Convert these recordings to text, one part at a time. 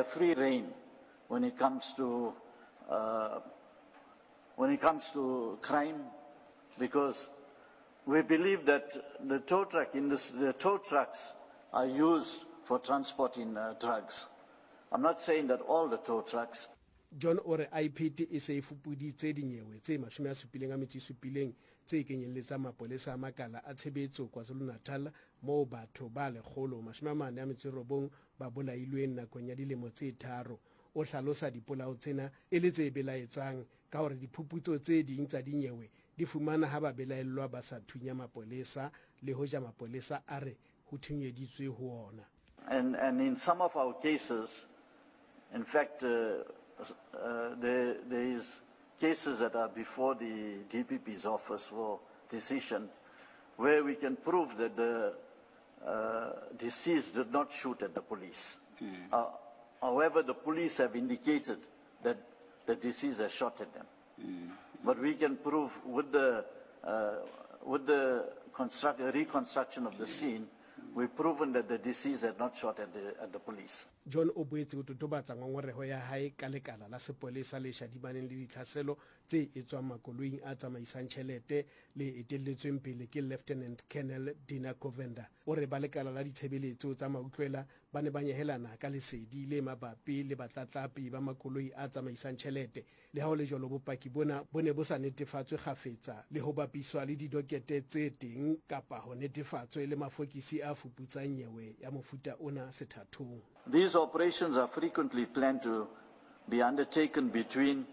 a free rein when it comes to, uh, when it comes to crime because we believe that the tow truck industry, the tow trucks are used for transporting uh, drugs. I'm not saying that all the tow trucks. John o re IPID e se e fupuditse dinyewe tse 77 tse kenyelletsang mapolesa a makala a tshebetso KwaZulu-Natal moo batho ba 149 ba bolailweng nakong ya dilemo tse tharo. O hlalosa dipolao tsena e le tse belaetsang ka hore diphuputso tse ding tsa dinyewe di fumana ha babelaellwa ba sa thunya mapolesa le hoja mapolesa a re ho thunyeditswe ho ona. And, and in some of our cases, in fact, uh, uh, there, there is cases that are before the DPP's office for decision where we can prove that the uh, deceased did not shoot at the police. Mm. Uh, however, the police have indicated that the deceased has shot at them. Mm. But we can prove with the, uh, with the construct, reconstruction of the scene, we've proven that the deceased had not shot at the, at the police. John o boetse o totobatsa ngongoreho ya hae ka lekala la sepolesa le shadimaneng le ditlhaselo tse etswang makoloing a tsamaisang tjhelete le etelletsweng pele ke Lieutenant Colonel Dina Govender. O re ba lekala la ditshebeletso tsa mautlwela ba ne ba nyehelana ka lesedi le mabapi le batlatlapi ba makoloi a tsamaisang tjhelete. Le ha ho le jwalo, bopaki bona bo ne bo sa netefatswe kgafetsa le ho bapiswa le didokete tse teng kapa ho netefatswe le mafokisi a fuputsang nyewe ya mofuta ona sethathong. These operations are frequently planned to be undertaken between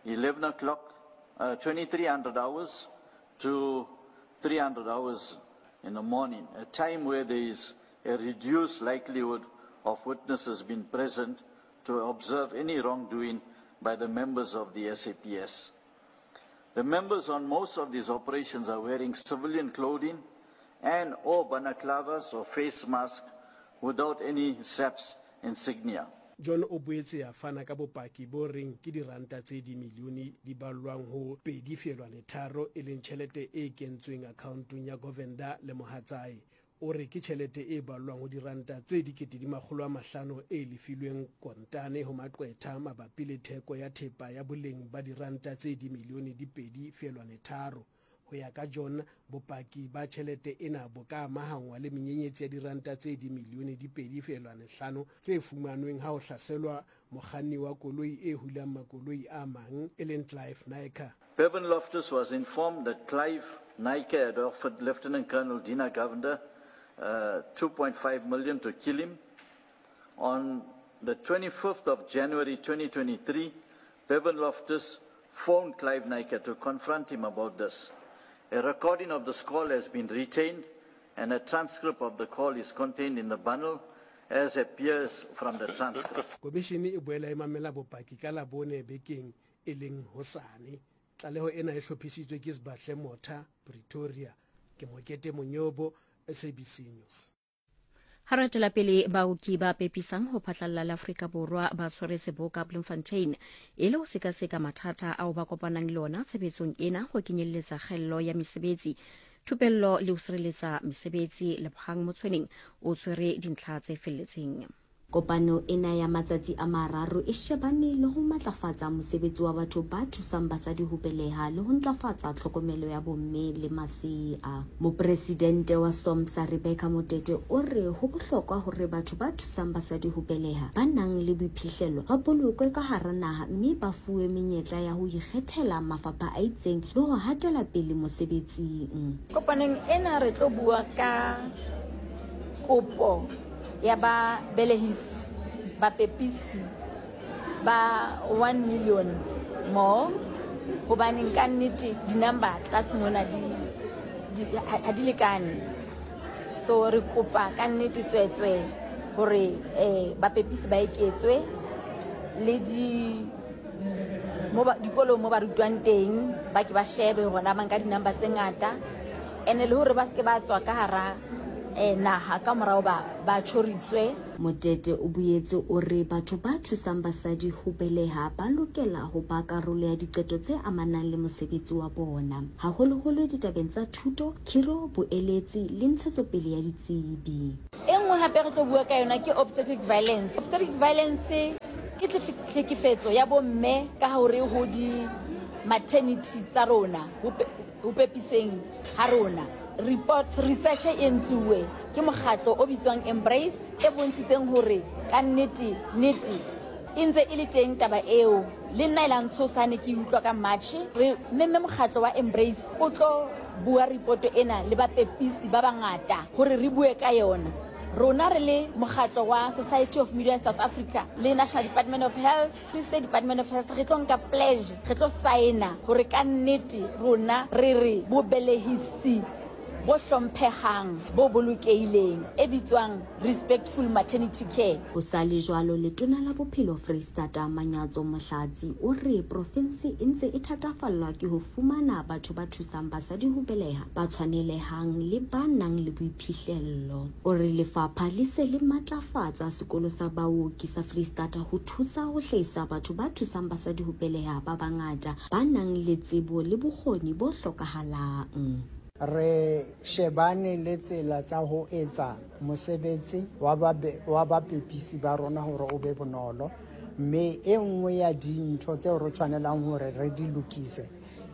11 o'clock, uh, 2300 hours to 300 hours in the morning, a time where there is a reduced likelihood of witnesses being present to observe any wrongdoing by the members of the SAPS. The members on most of these operations are wearing civilian clothing and or balaclavas or face masks without any SAPS insignia. John o boetse a fana ka bopaki bo reng ke diranta tse dimilione di ballwang ho 2.3 e leng tjhelete e kentsweng akhaontong ya Govender le mohatsae. O re ke tjhelete e ballwang ho diranta tse 500,000 e lefilweng kontane ho maqwetha mabapi le theko ya thepa ya boleng ba diranta tse dimilione di 2.3. Ho ya ka John, bopaki ba tjhelete ena bo ka amahangwa le menyenyetsi ya diranta tse dimilione di 2.5 tse fumanweng ha ho hlaselwa mokganni wa koloi e hulang makoloi a mang e leng Clive Naicker. Bevan Loftus was informed that Clive Naicker had offered Lieutenant Colonel Dina Govender uh, 2.5 million to kill him. On the 25th of January 2023, Bevan Loftus phoned Clive Naicker to confront him about this. A recording of this call has been retained and a transcript of the call is contained in the bundle as appears from the transcript. Komishene e boela e mamela bopaki ka Labone bekeng e leng hosane. Tlaleho ena e hlophisitswe ke Sbahle Motha, Pretoria. Ke Mokete Monyobo, SABC News. Ha re etela pele baoki ba pepisang ho phatlalla la Afrika Borwa ba tshwere seboka Bloemfontein e le ho sekaseka mathata ao ba kopanang le ona tshebetsong ena ho kenyelletsa kgello ya mesebetsi, thupello le ho sireletsa mesebetsi. Lebohang Motshweneng o tshwere dintlha tse felletseng. Kopano ena ya matsatsi a mararo e shebane le ho matlafatsa mosebetsi wa batho ba thusang basadi ho beleha le ho ntlafatsa tlhokomelo ya bomme le masea. Mopresidente wa SOMSA Rebecca Motete o re ho bohlokwa hore batho ba thusang basadi ho beleha ba nang le boiphihlelo ba bolokwe ka hara naha mme ba fuwe menyetla ya ho ikgethela mafapha a itseng le ho hatela pele mosebetsing. Kopanong ena re tlo bua ka kopo ya ba belehisi, bapepisi ba 1 million more, hobaneng ka nnete di-number tlase mona di, di, ha di lekane. So re kopa ka nnete tswetswe hore eh, bapepisi ba eketswe le di mo ba, dikolong mo ba rutwang teng ba ke ba shebe hore na ba nka di-number tse ngata ene le hore ba se ke ba tswa ka hara eh, naha ka morao ba ba tjhoriswe. Motete o boetse o re batho ba thusang basadi ho beleha ba lokela ho ba karolo ya diqeto tse amanang le mosebetsi wa bona, haholoholo ditabeng tsa thuto, khiro, boeletsi le ntshetsopele ya ditsebi. E nngwe hape re tlo bua ka yona ke obstetric violence. Obstetric violence Ke tlhekefetso ya bomme ka hore ho di maternity tsa rona, ho pepiseng ha rona. Reports, research e entsuwe ke mokgatlo o bitswang Embrace e bontshitseng hore ka nnete, nnete e ntse e le teng taba eo. Le nna e la ntshosa ha ne ke e utlwa ka March. Re memme mokgatlo wa Embrace o tlo bua report ena le bapepisi ba bangata hore re bue ka yona. Rona re le mokgatlo wa Society of Midwives South Africa le National Department of Health, Free State Department of Health re tlo nka pledge, re tlo saena hore ka nnete rona re re bobelehisi bo hlomphehang, bo bolokehileng e bitswang Respectful Maternity Care. Ho sa le jwalo, Letona la Bophelo Freistata Manyatso Mohlatsi o re profensi e ntse e thatafallwa ke ho fumana batho ba thusang basadi ho beleha ba tshwanelehang le ba nang le boiphihlello. O re lefapha le se le matlafatsa sekolo sa baoki sa Freistata ho thusa ho hlahisa batho ba thusang basadi ho beleha ba bangata ba nang le tsebo le bokgoni bo hlokahalang. Re shebane le tsela tsa ho etsa mosebetsi wa bapepisi ba rona hore o be bonolo, mme e nngwe ya dintho tseo re tshwanelang hore re di lokise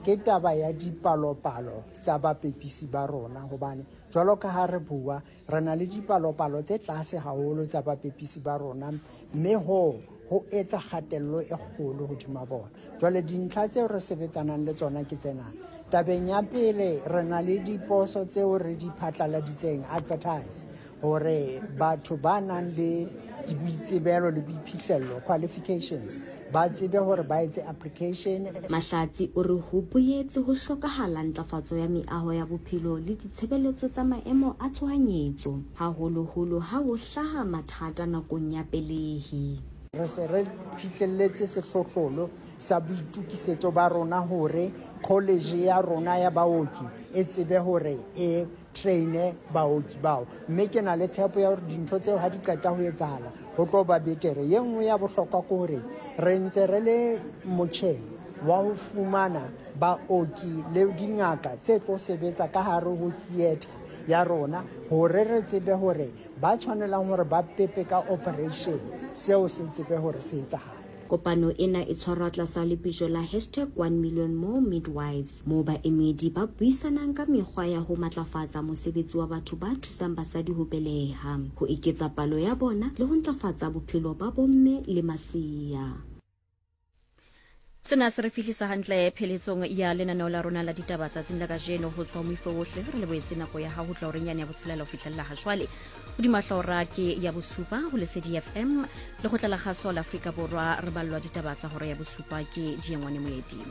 ke taba ya dipalopalo tsa bapepisi ba rona, hobane jwalo ka ha re bua, re na le dipalopalo tse tlase haholo tsa bapepisi ba rona, mme hoo ho etsa kgatello e kgolo hodima bona. Jwale dintlha tseo re sebetsanang le tsona ke tsena. Tabeng ya pele, re na le diposo tseo re di phatlaladitseng, advertise, hore batho ba nang le boitsebelo le boiphihlello, qualifications, ba tsebe hore ba etse application. Mahlatsi o re ho boetse ho hlokahala ntlafatso ya meaho ya bophelo le ditshebeletso tsa maemo a tshohanyetso, haholoholo ha ho hlaha mathata nakong ya pelehi. Re se re fihlelletse sehlohlolo sa boitokisetso ba rona hore college ya rona ya baoki e tsebe hore e traine baoki bao, mme ke na le tshepo ya hore dintho tseo ha di qeta ho etsahala ho tlo ba betere. Ye nngwe ya bohlokwa ke hore re ntse re le motjheng wa ho fumana baoki le dingaka tse tlo sebetsa ka hare ho theatre ya rona hore re tsebe hore ba tshwanelang hore ba pepe ka operation seo se tsebe hore se etsahale. Kopano ena e tshwarwa tlasa lepetjo la hashtag One Million More Midwives, moo baemedi ba buisanang ka mekgwa ya ho matlafatsa mosebetsi wa batho ba thusang basadi ho beleha, ho eketsa palo ya bona le ho ntlafatsa bophelo ba bomme le masea. Sena se re fihlisa hantle pheletsong ya lenaneo la rona la ditaba tsatsing la kajeno. Ho tswa moifo wohle re lebohetse nako ya hao ho tla horeng yane ya botshelela ho fihlella ha jwale. Hodima hlora ke ya bosupa ho Lesedi FM lekgotla la kgaso la Afrika Borwa re ballwa ditaba tsa hora ya bosupa ke Diengwane Moeti.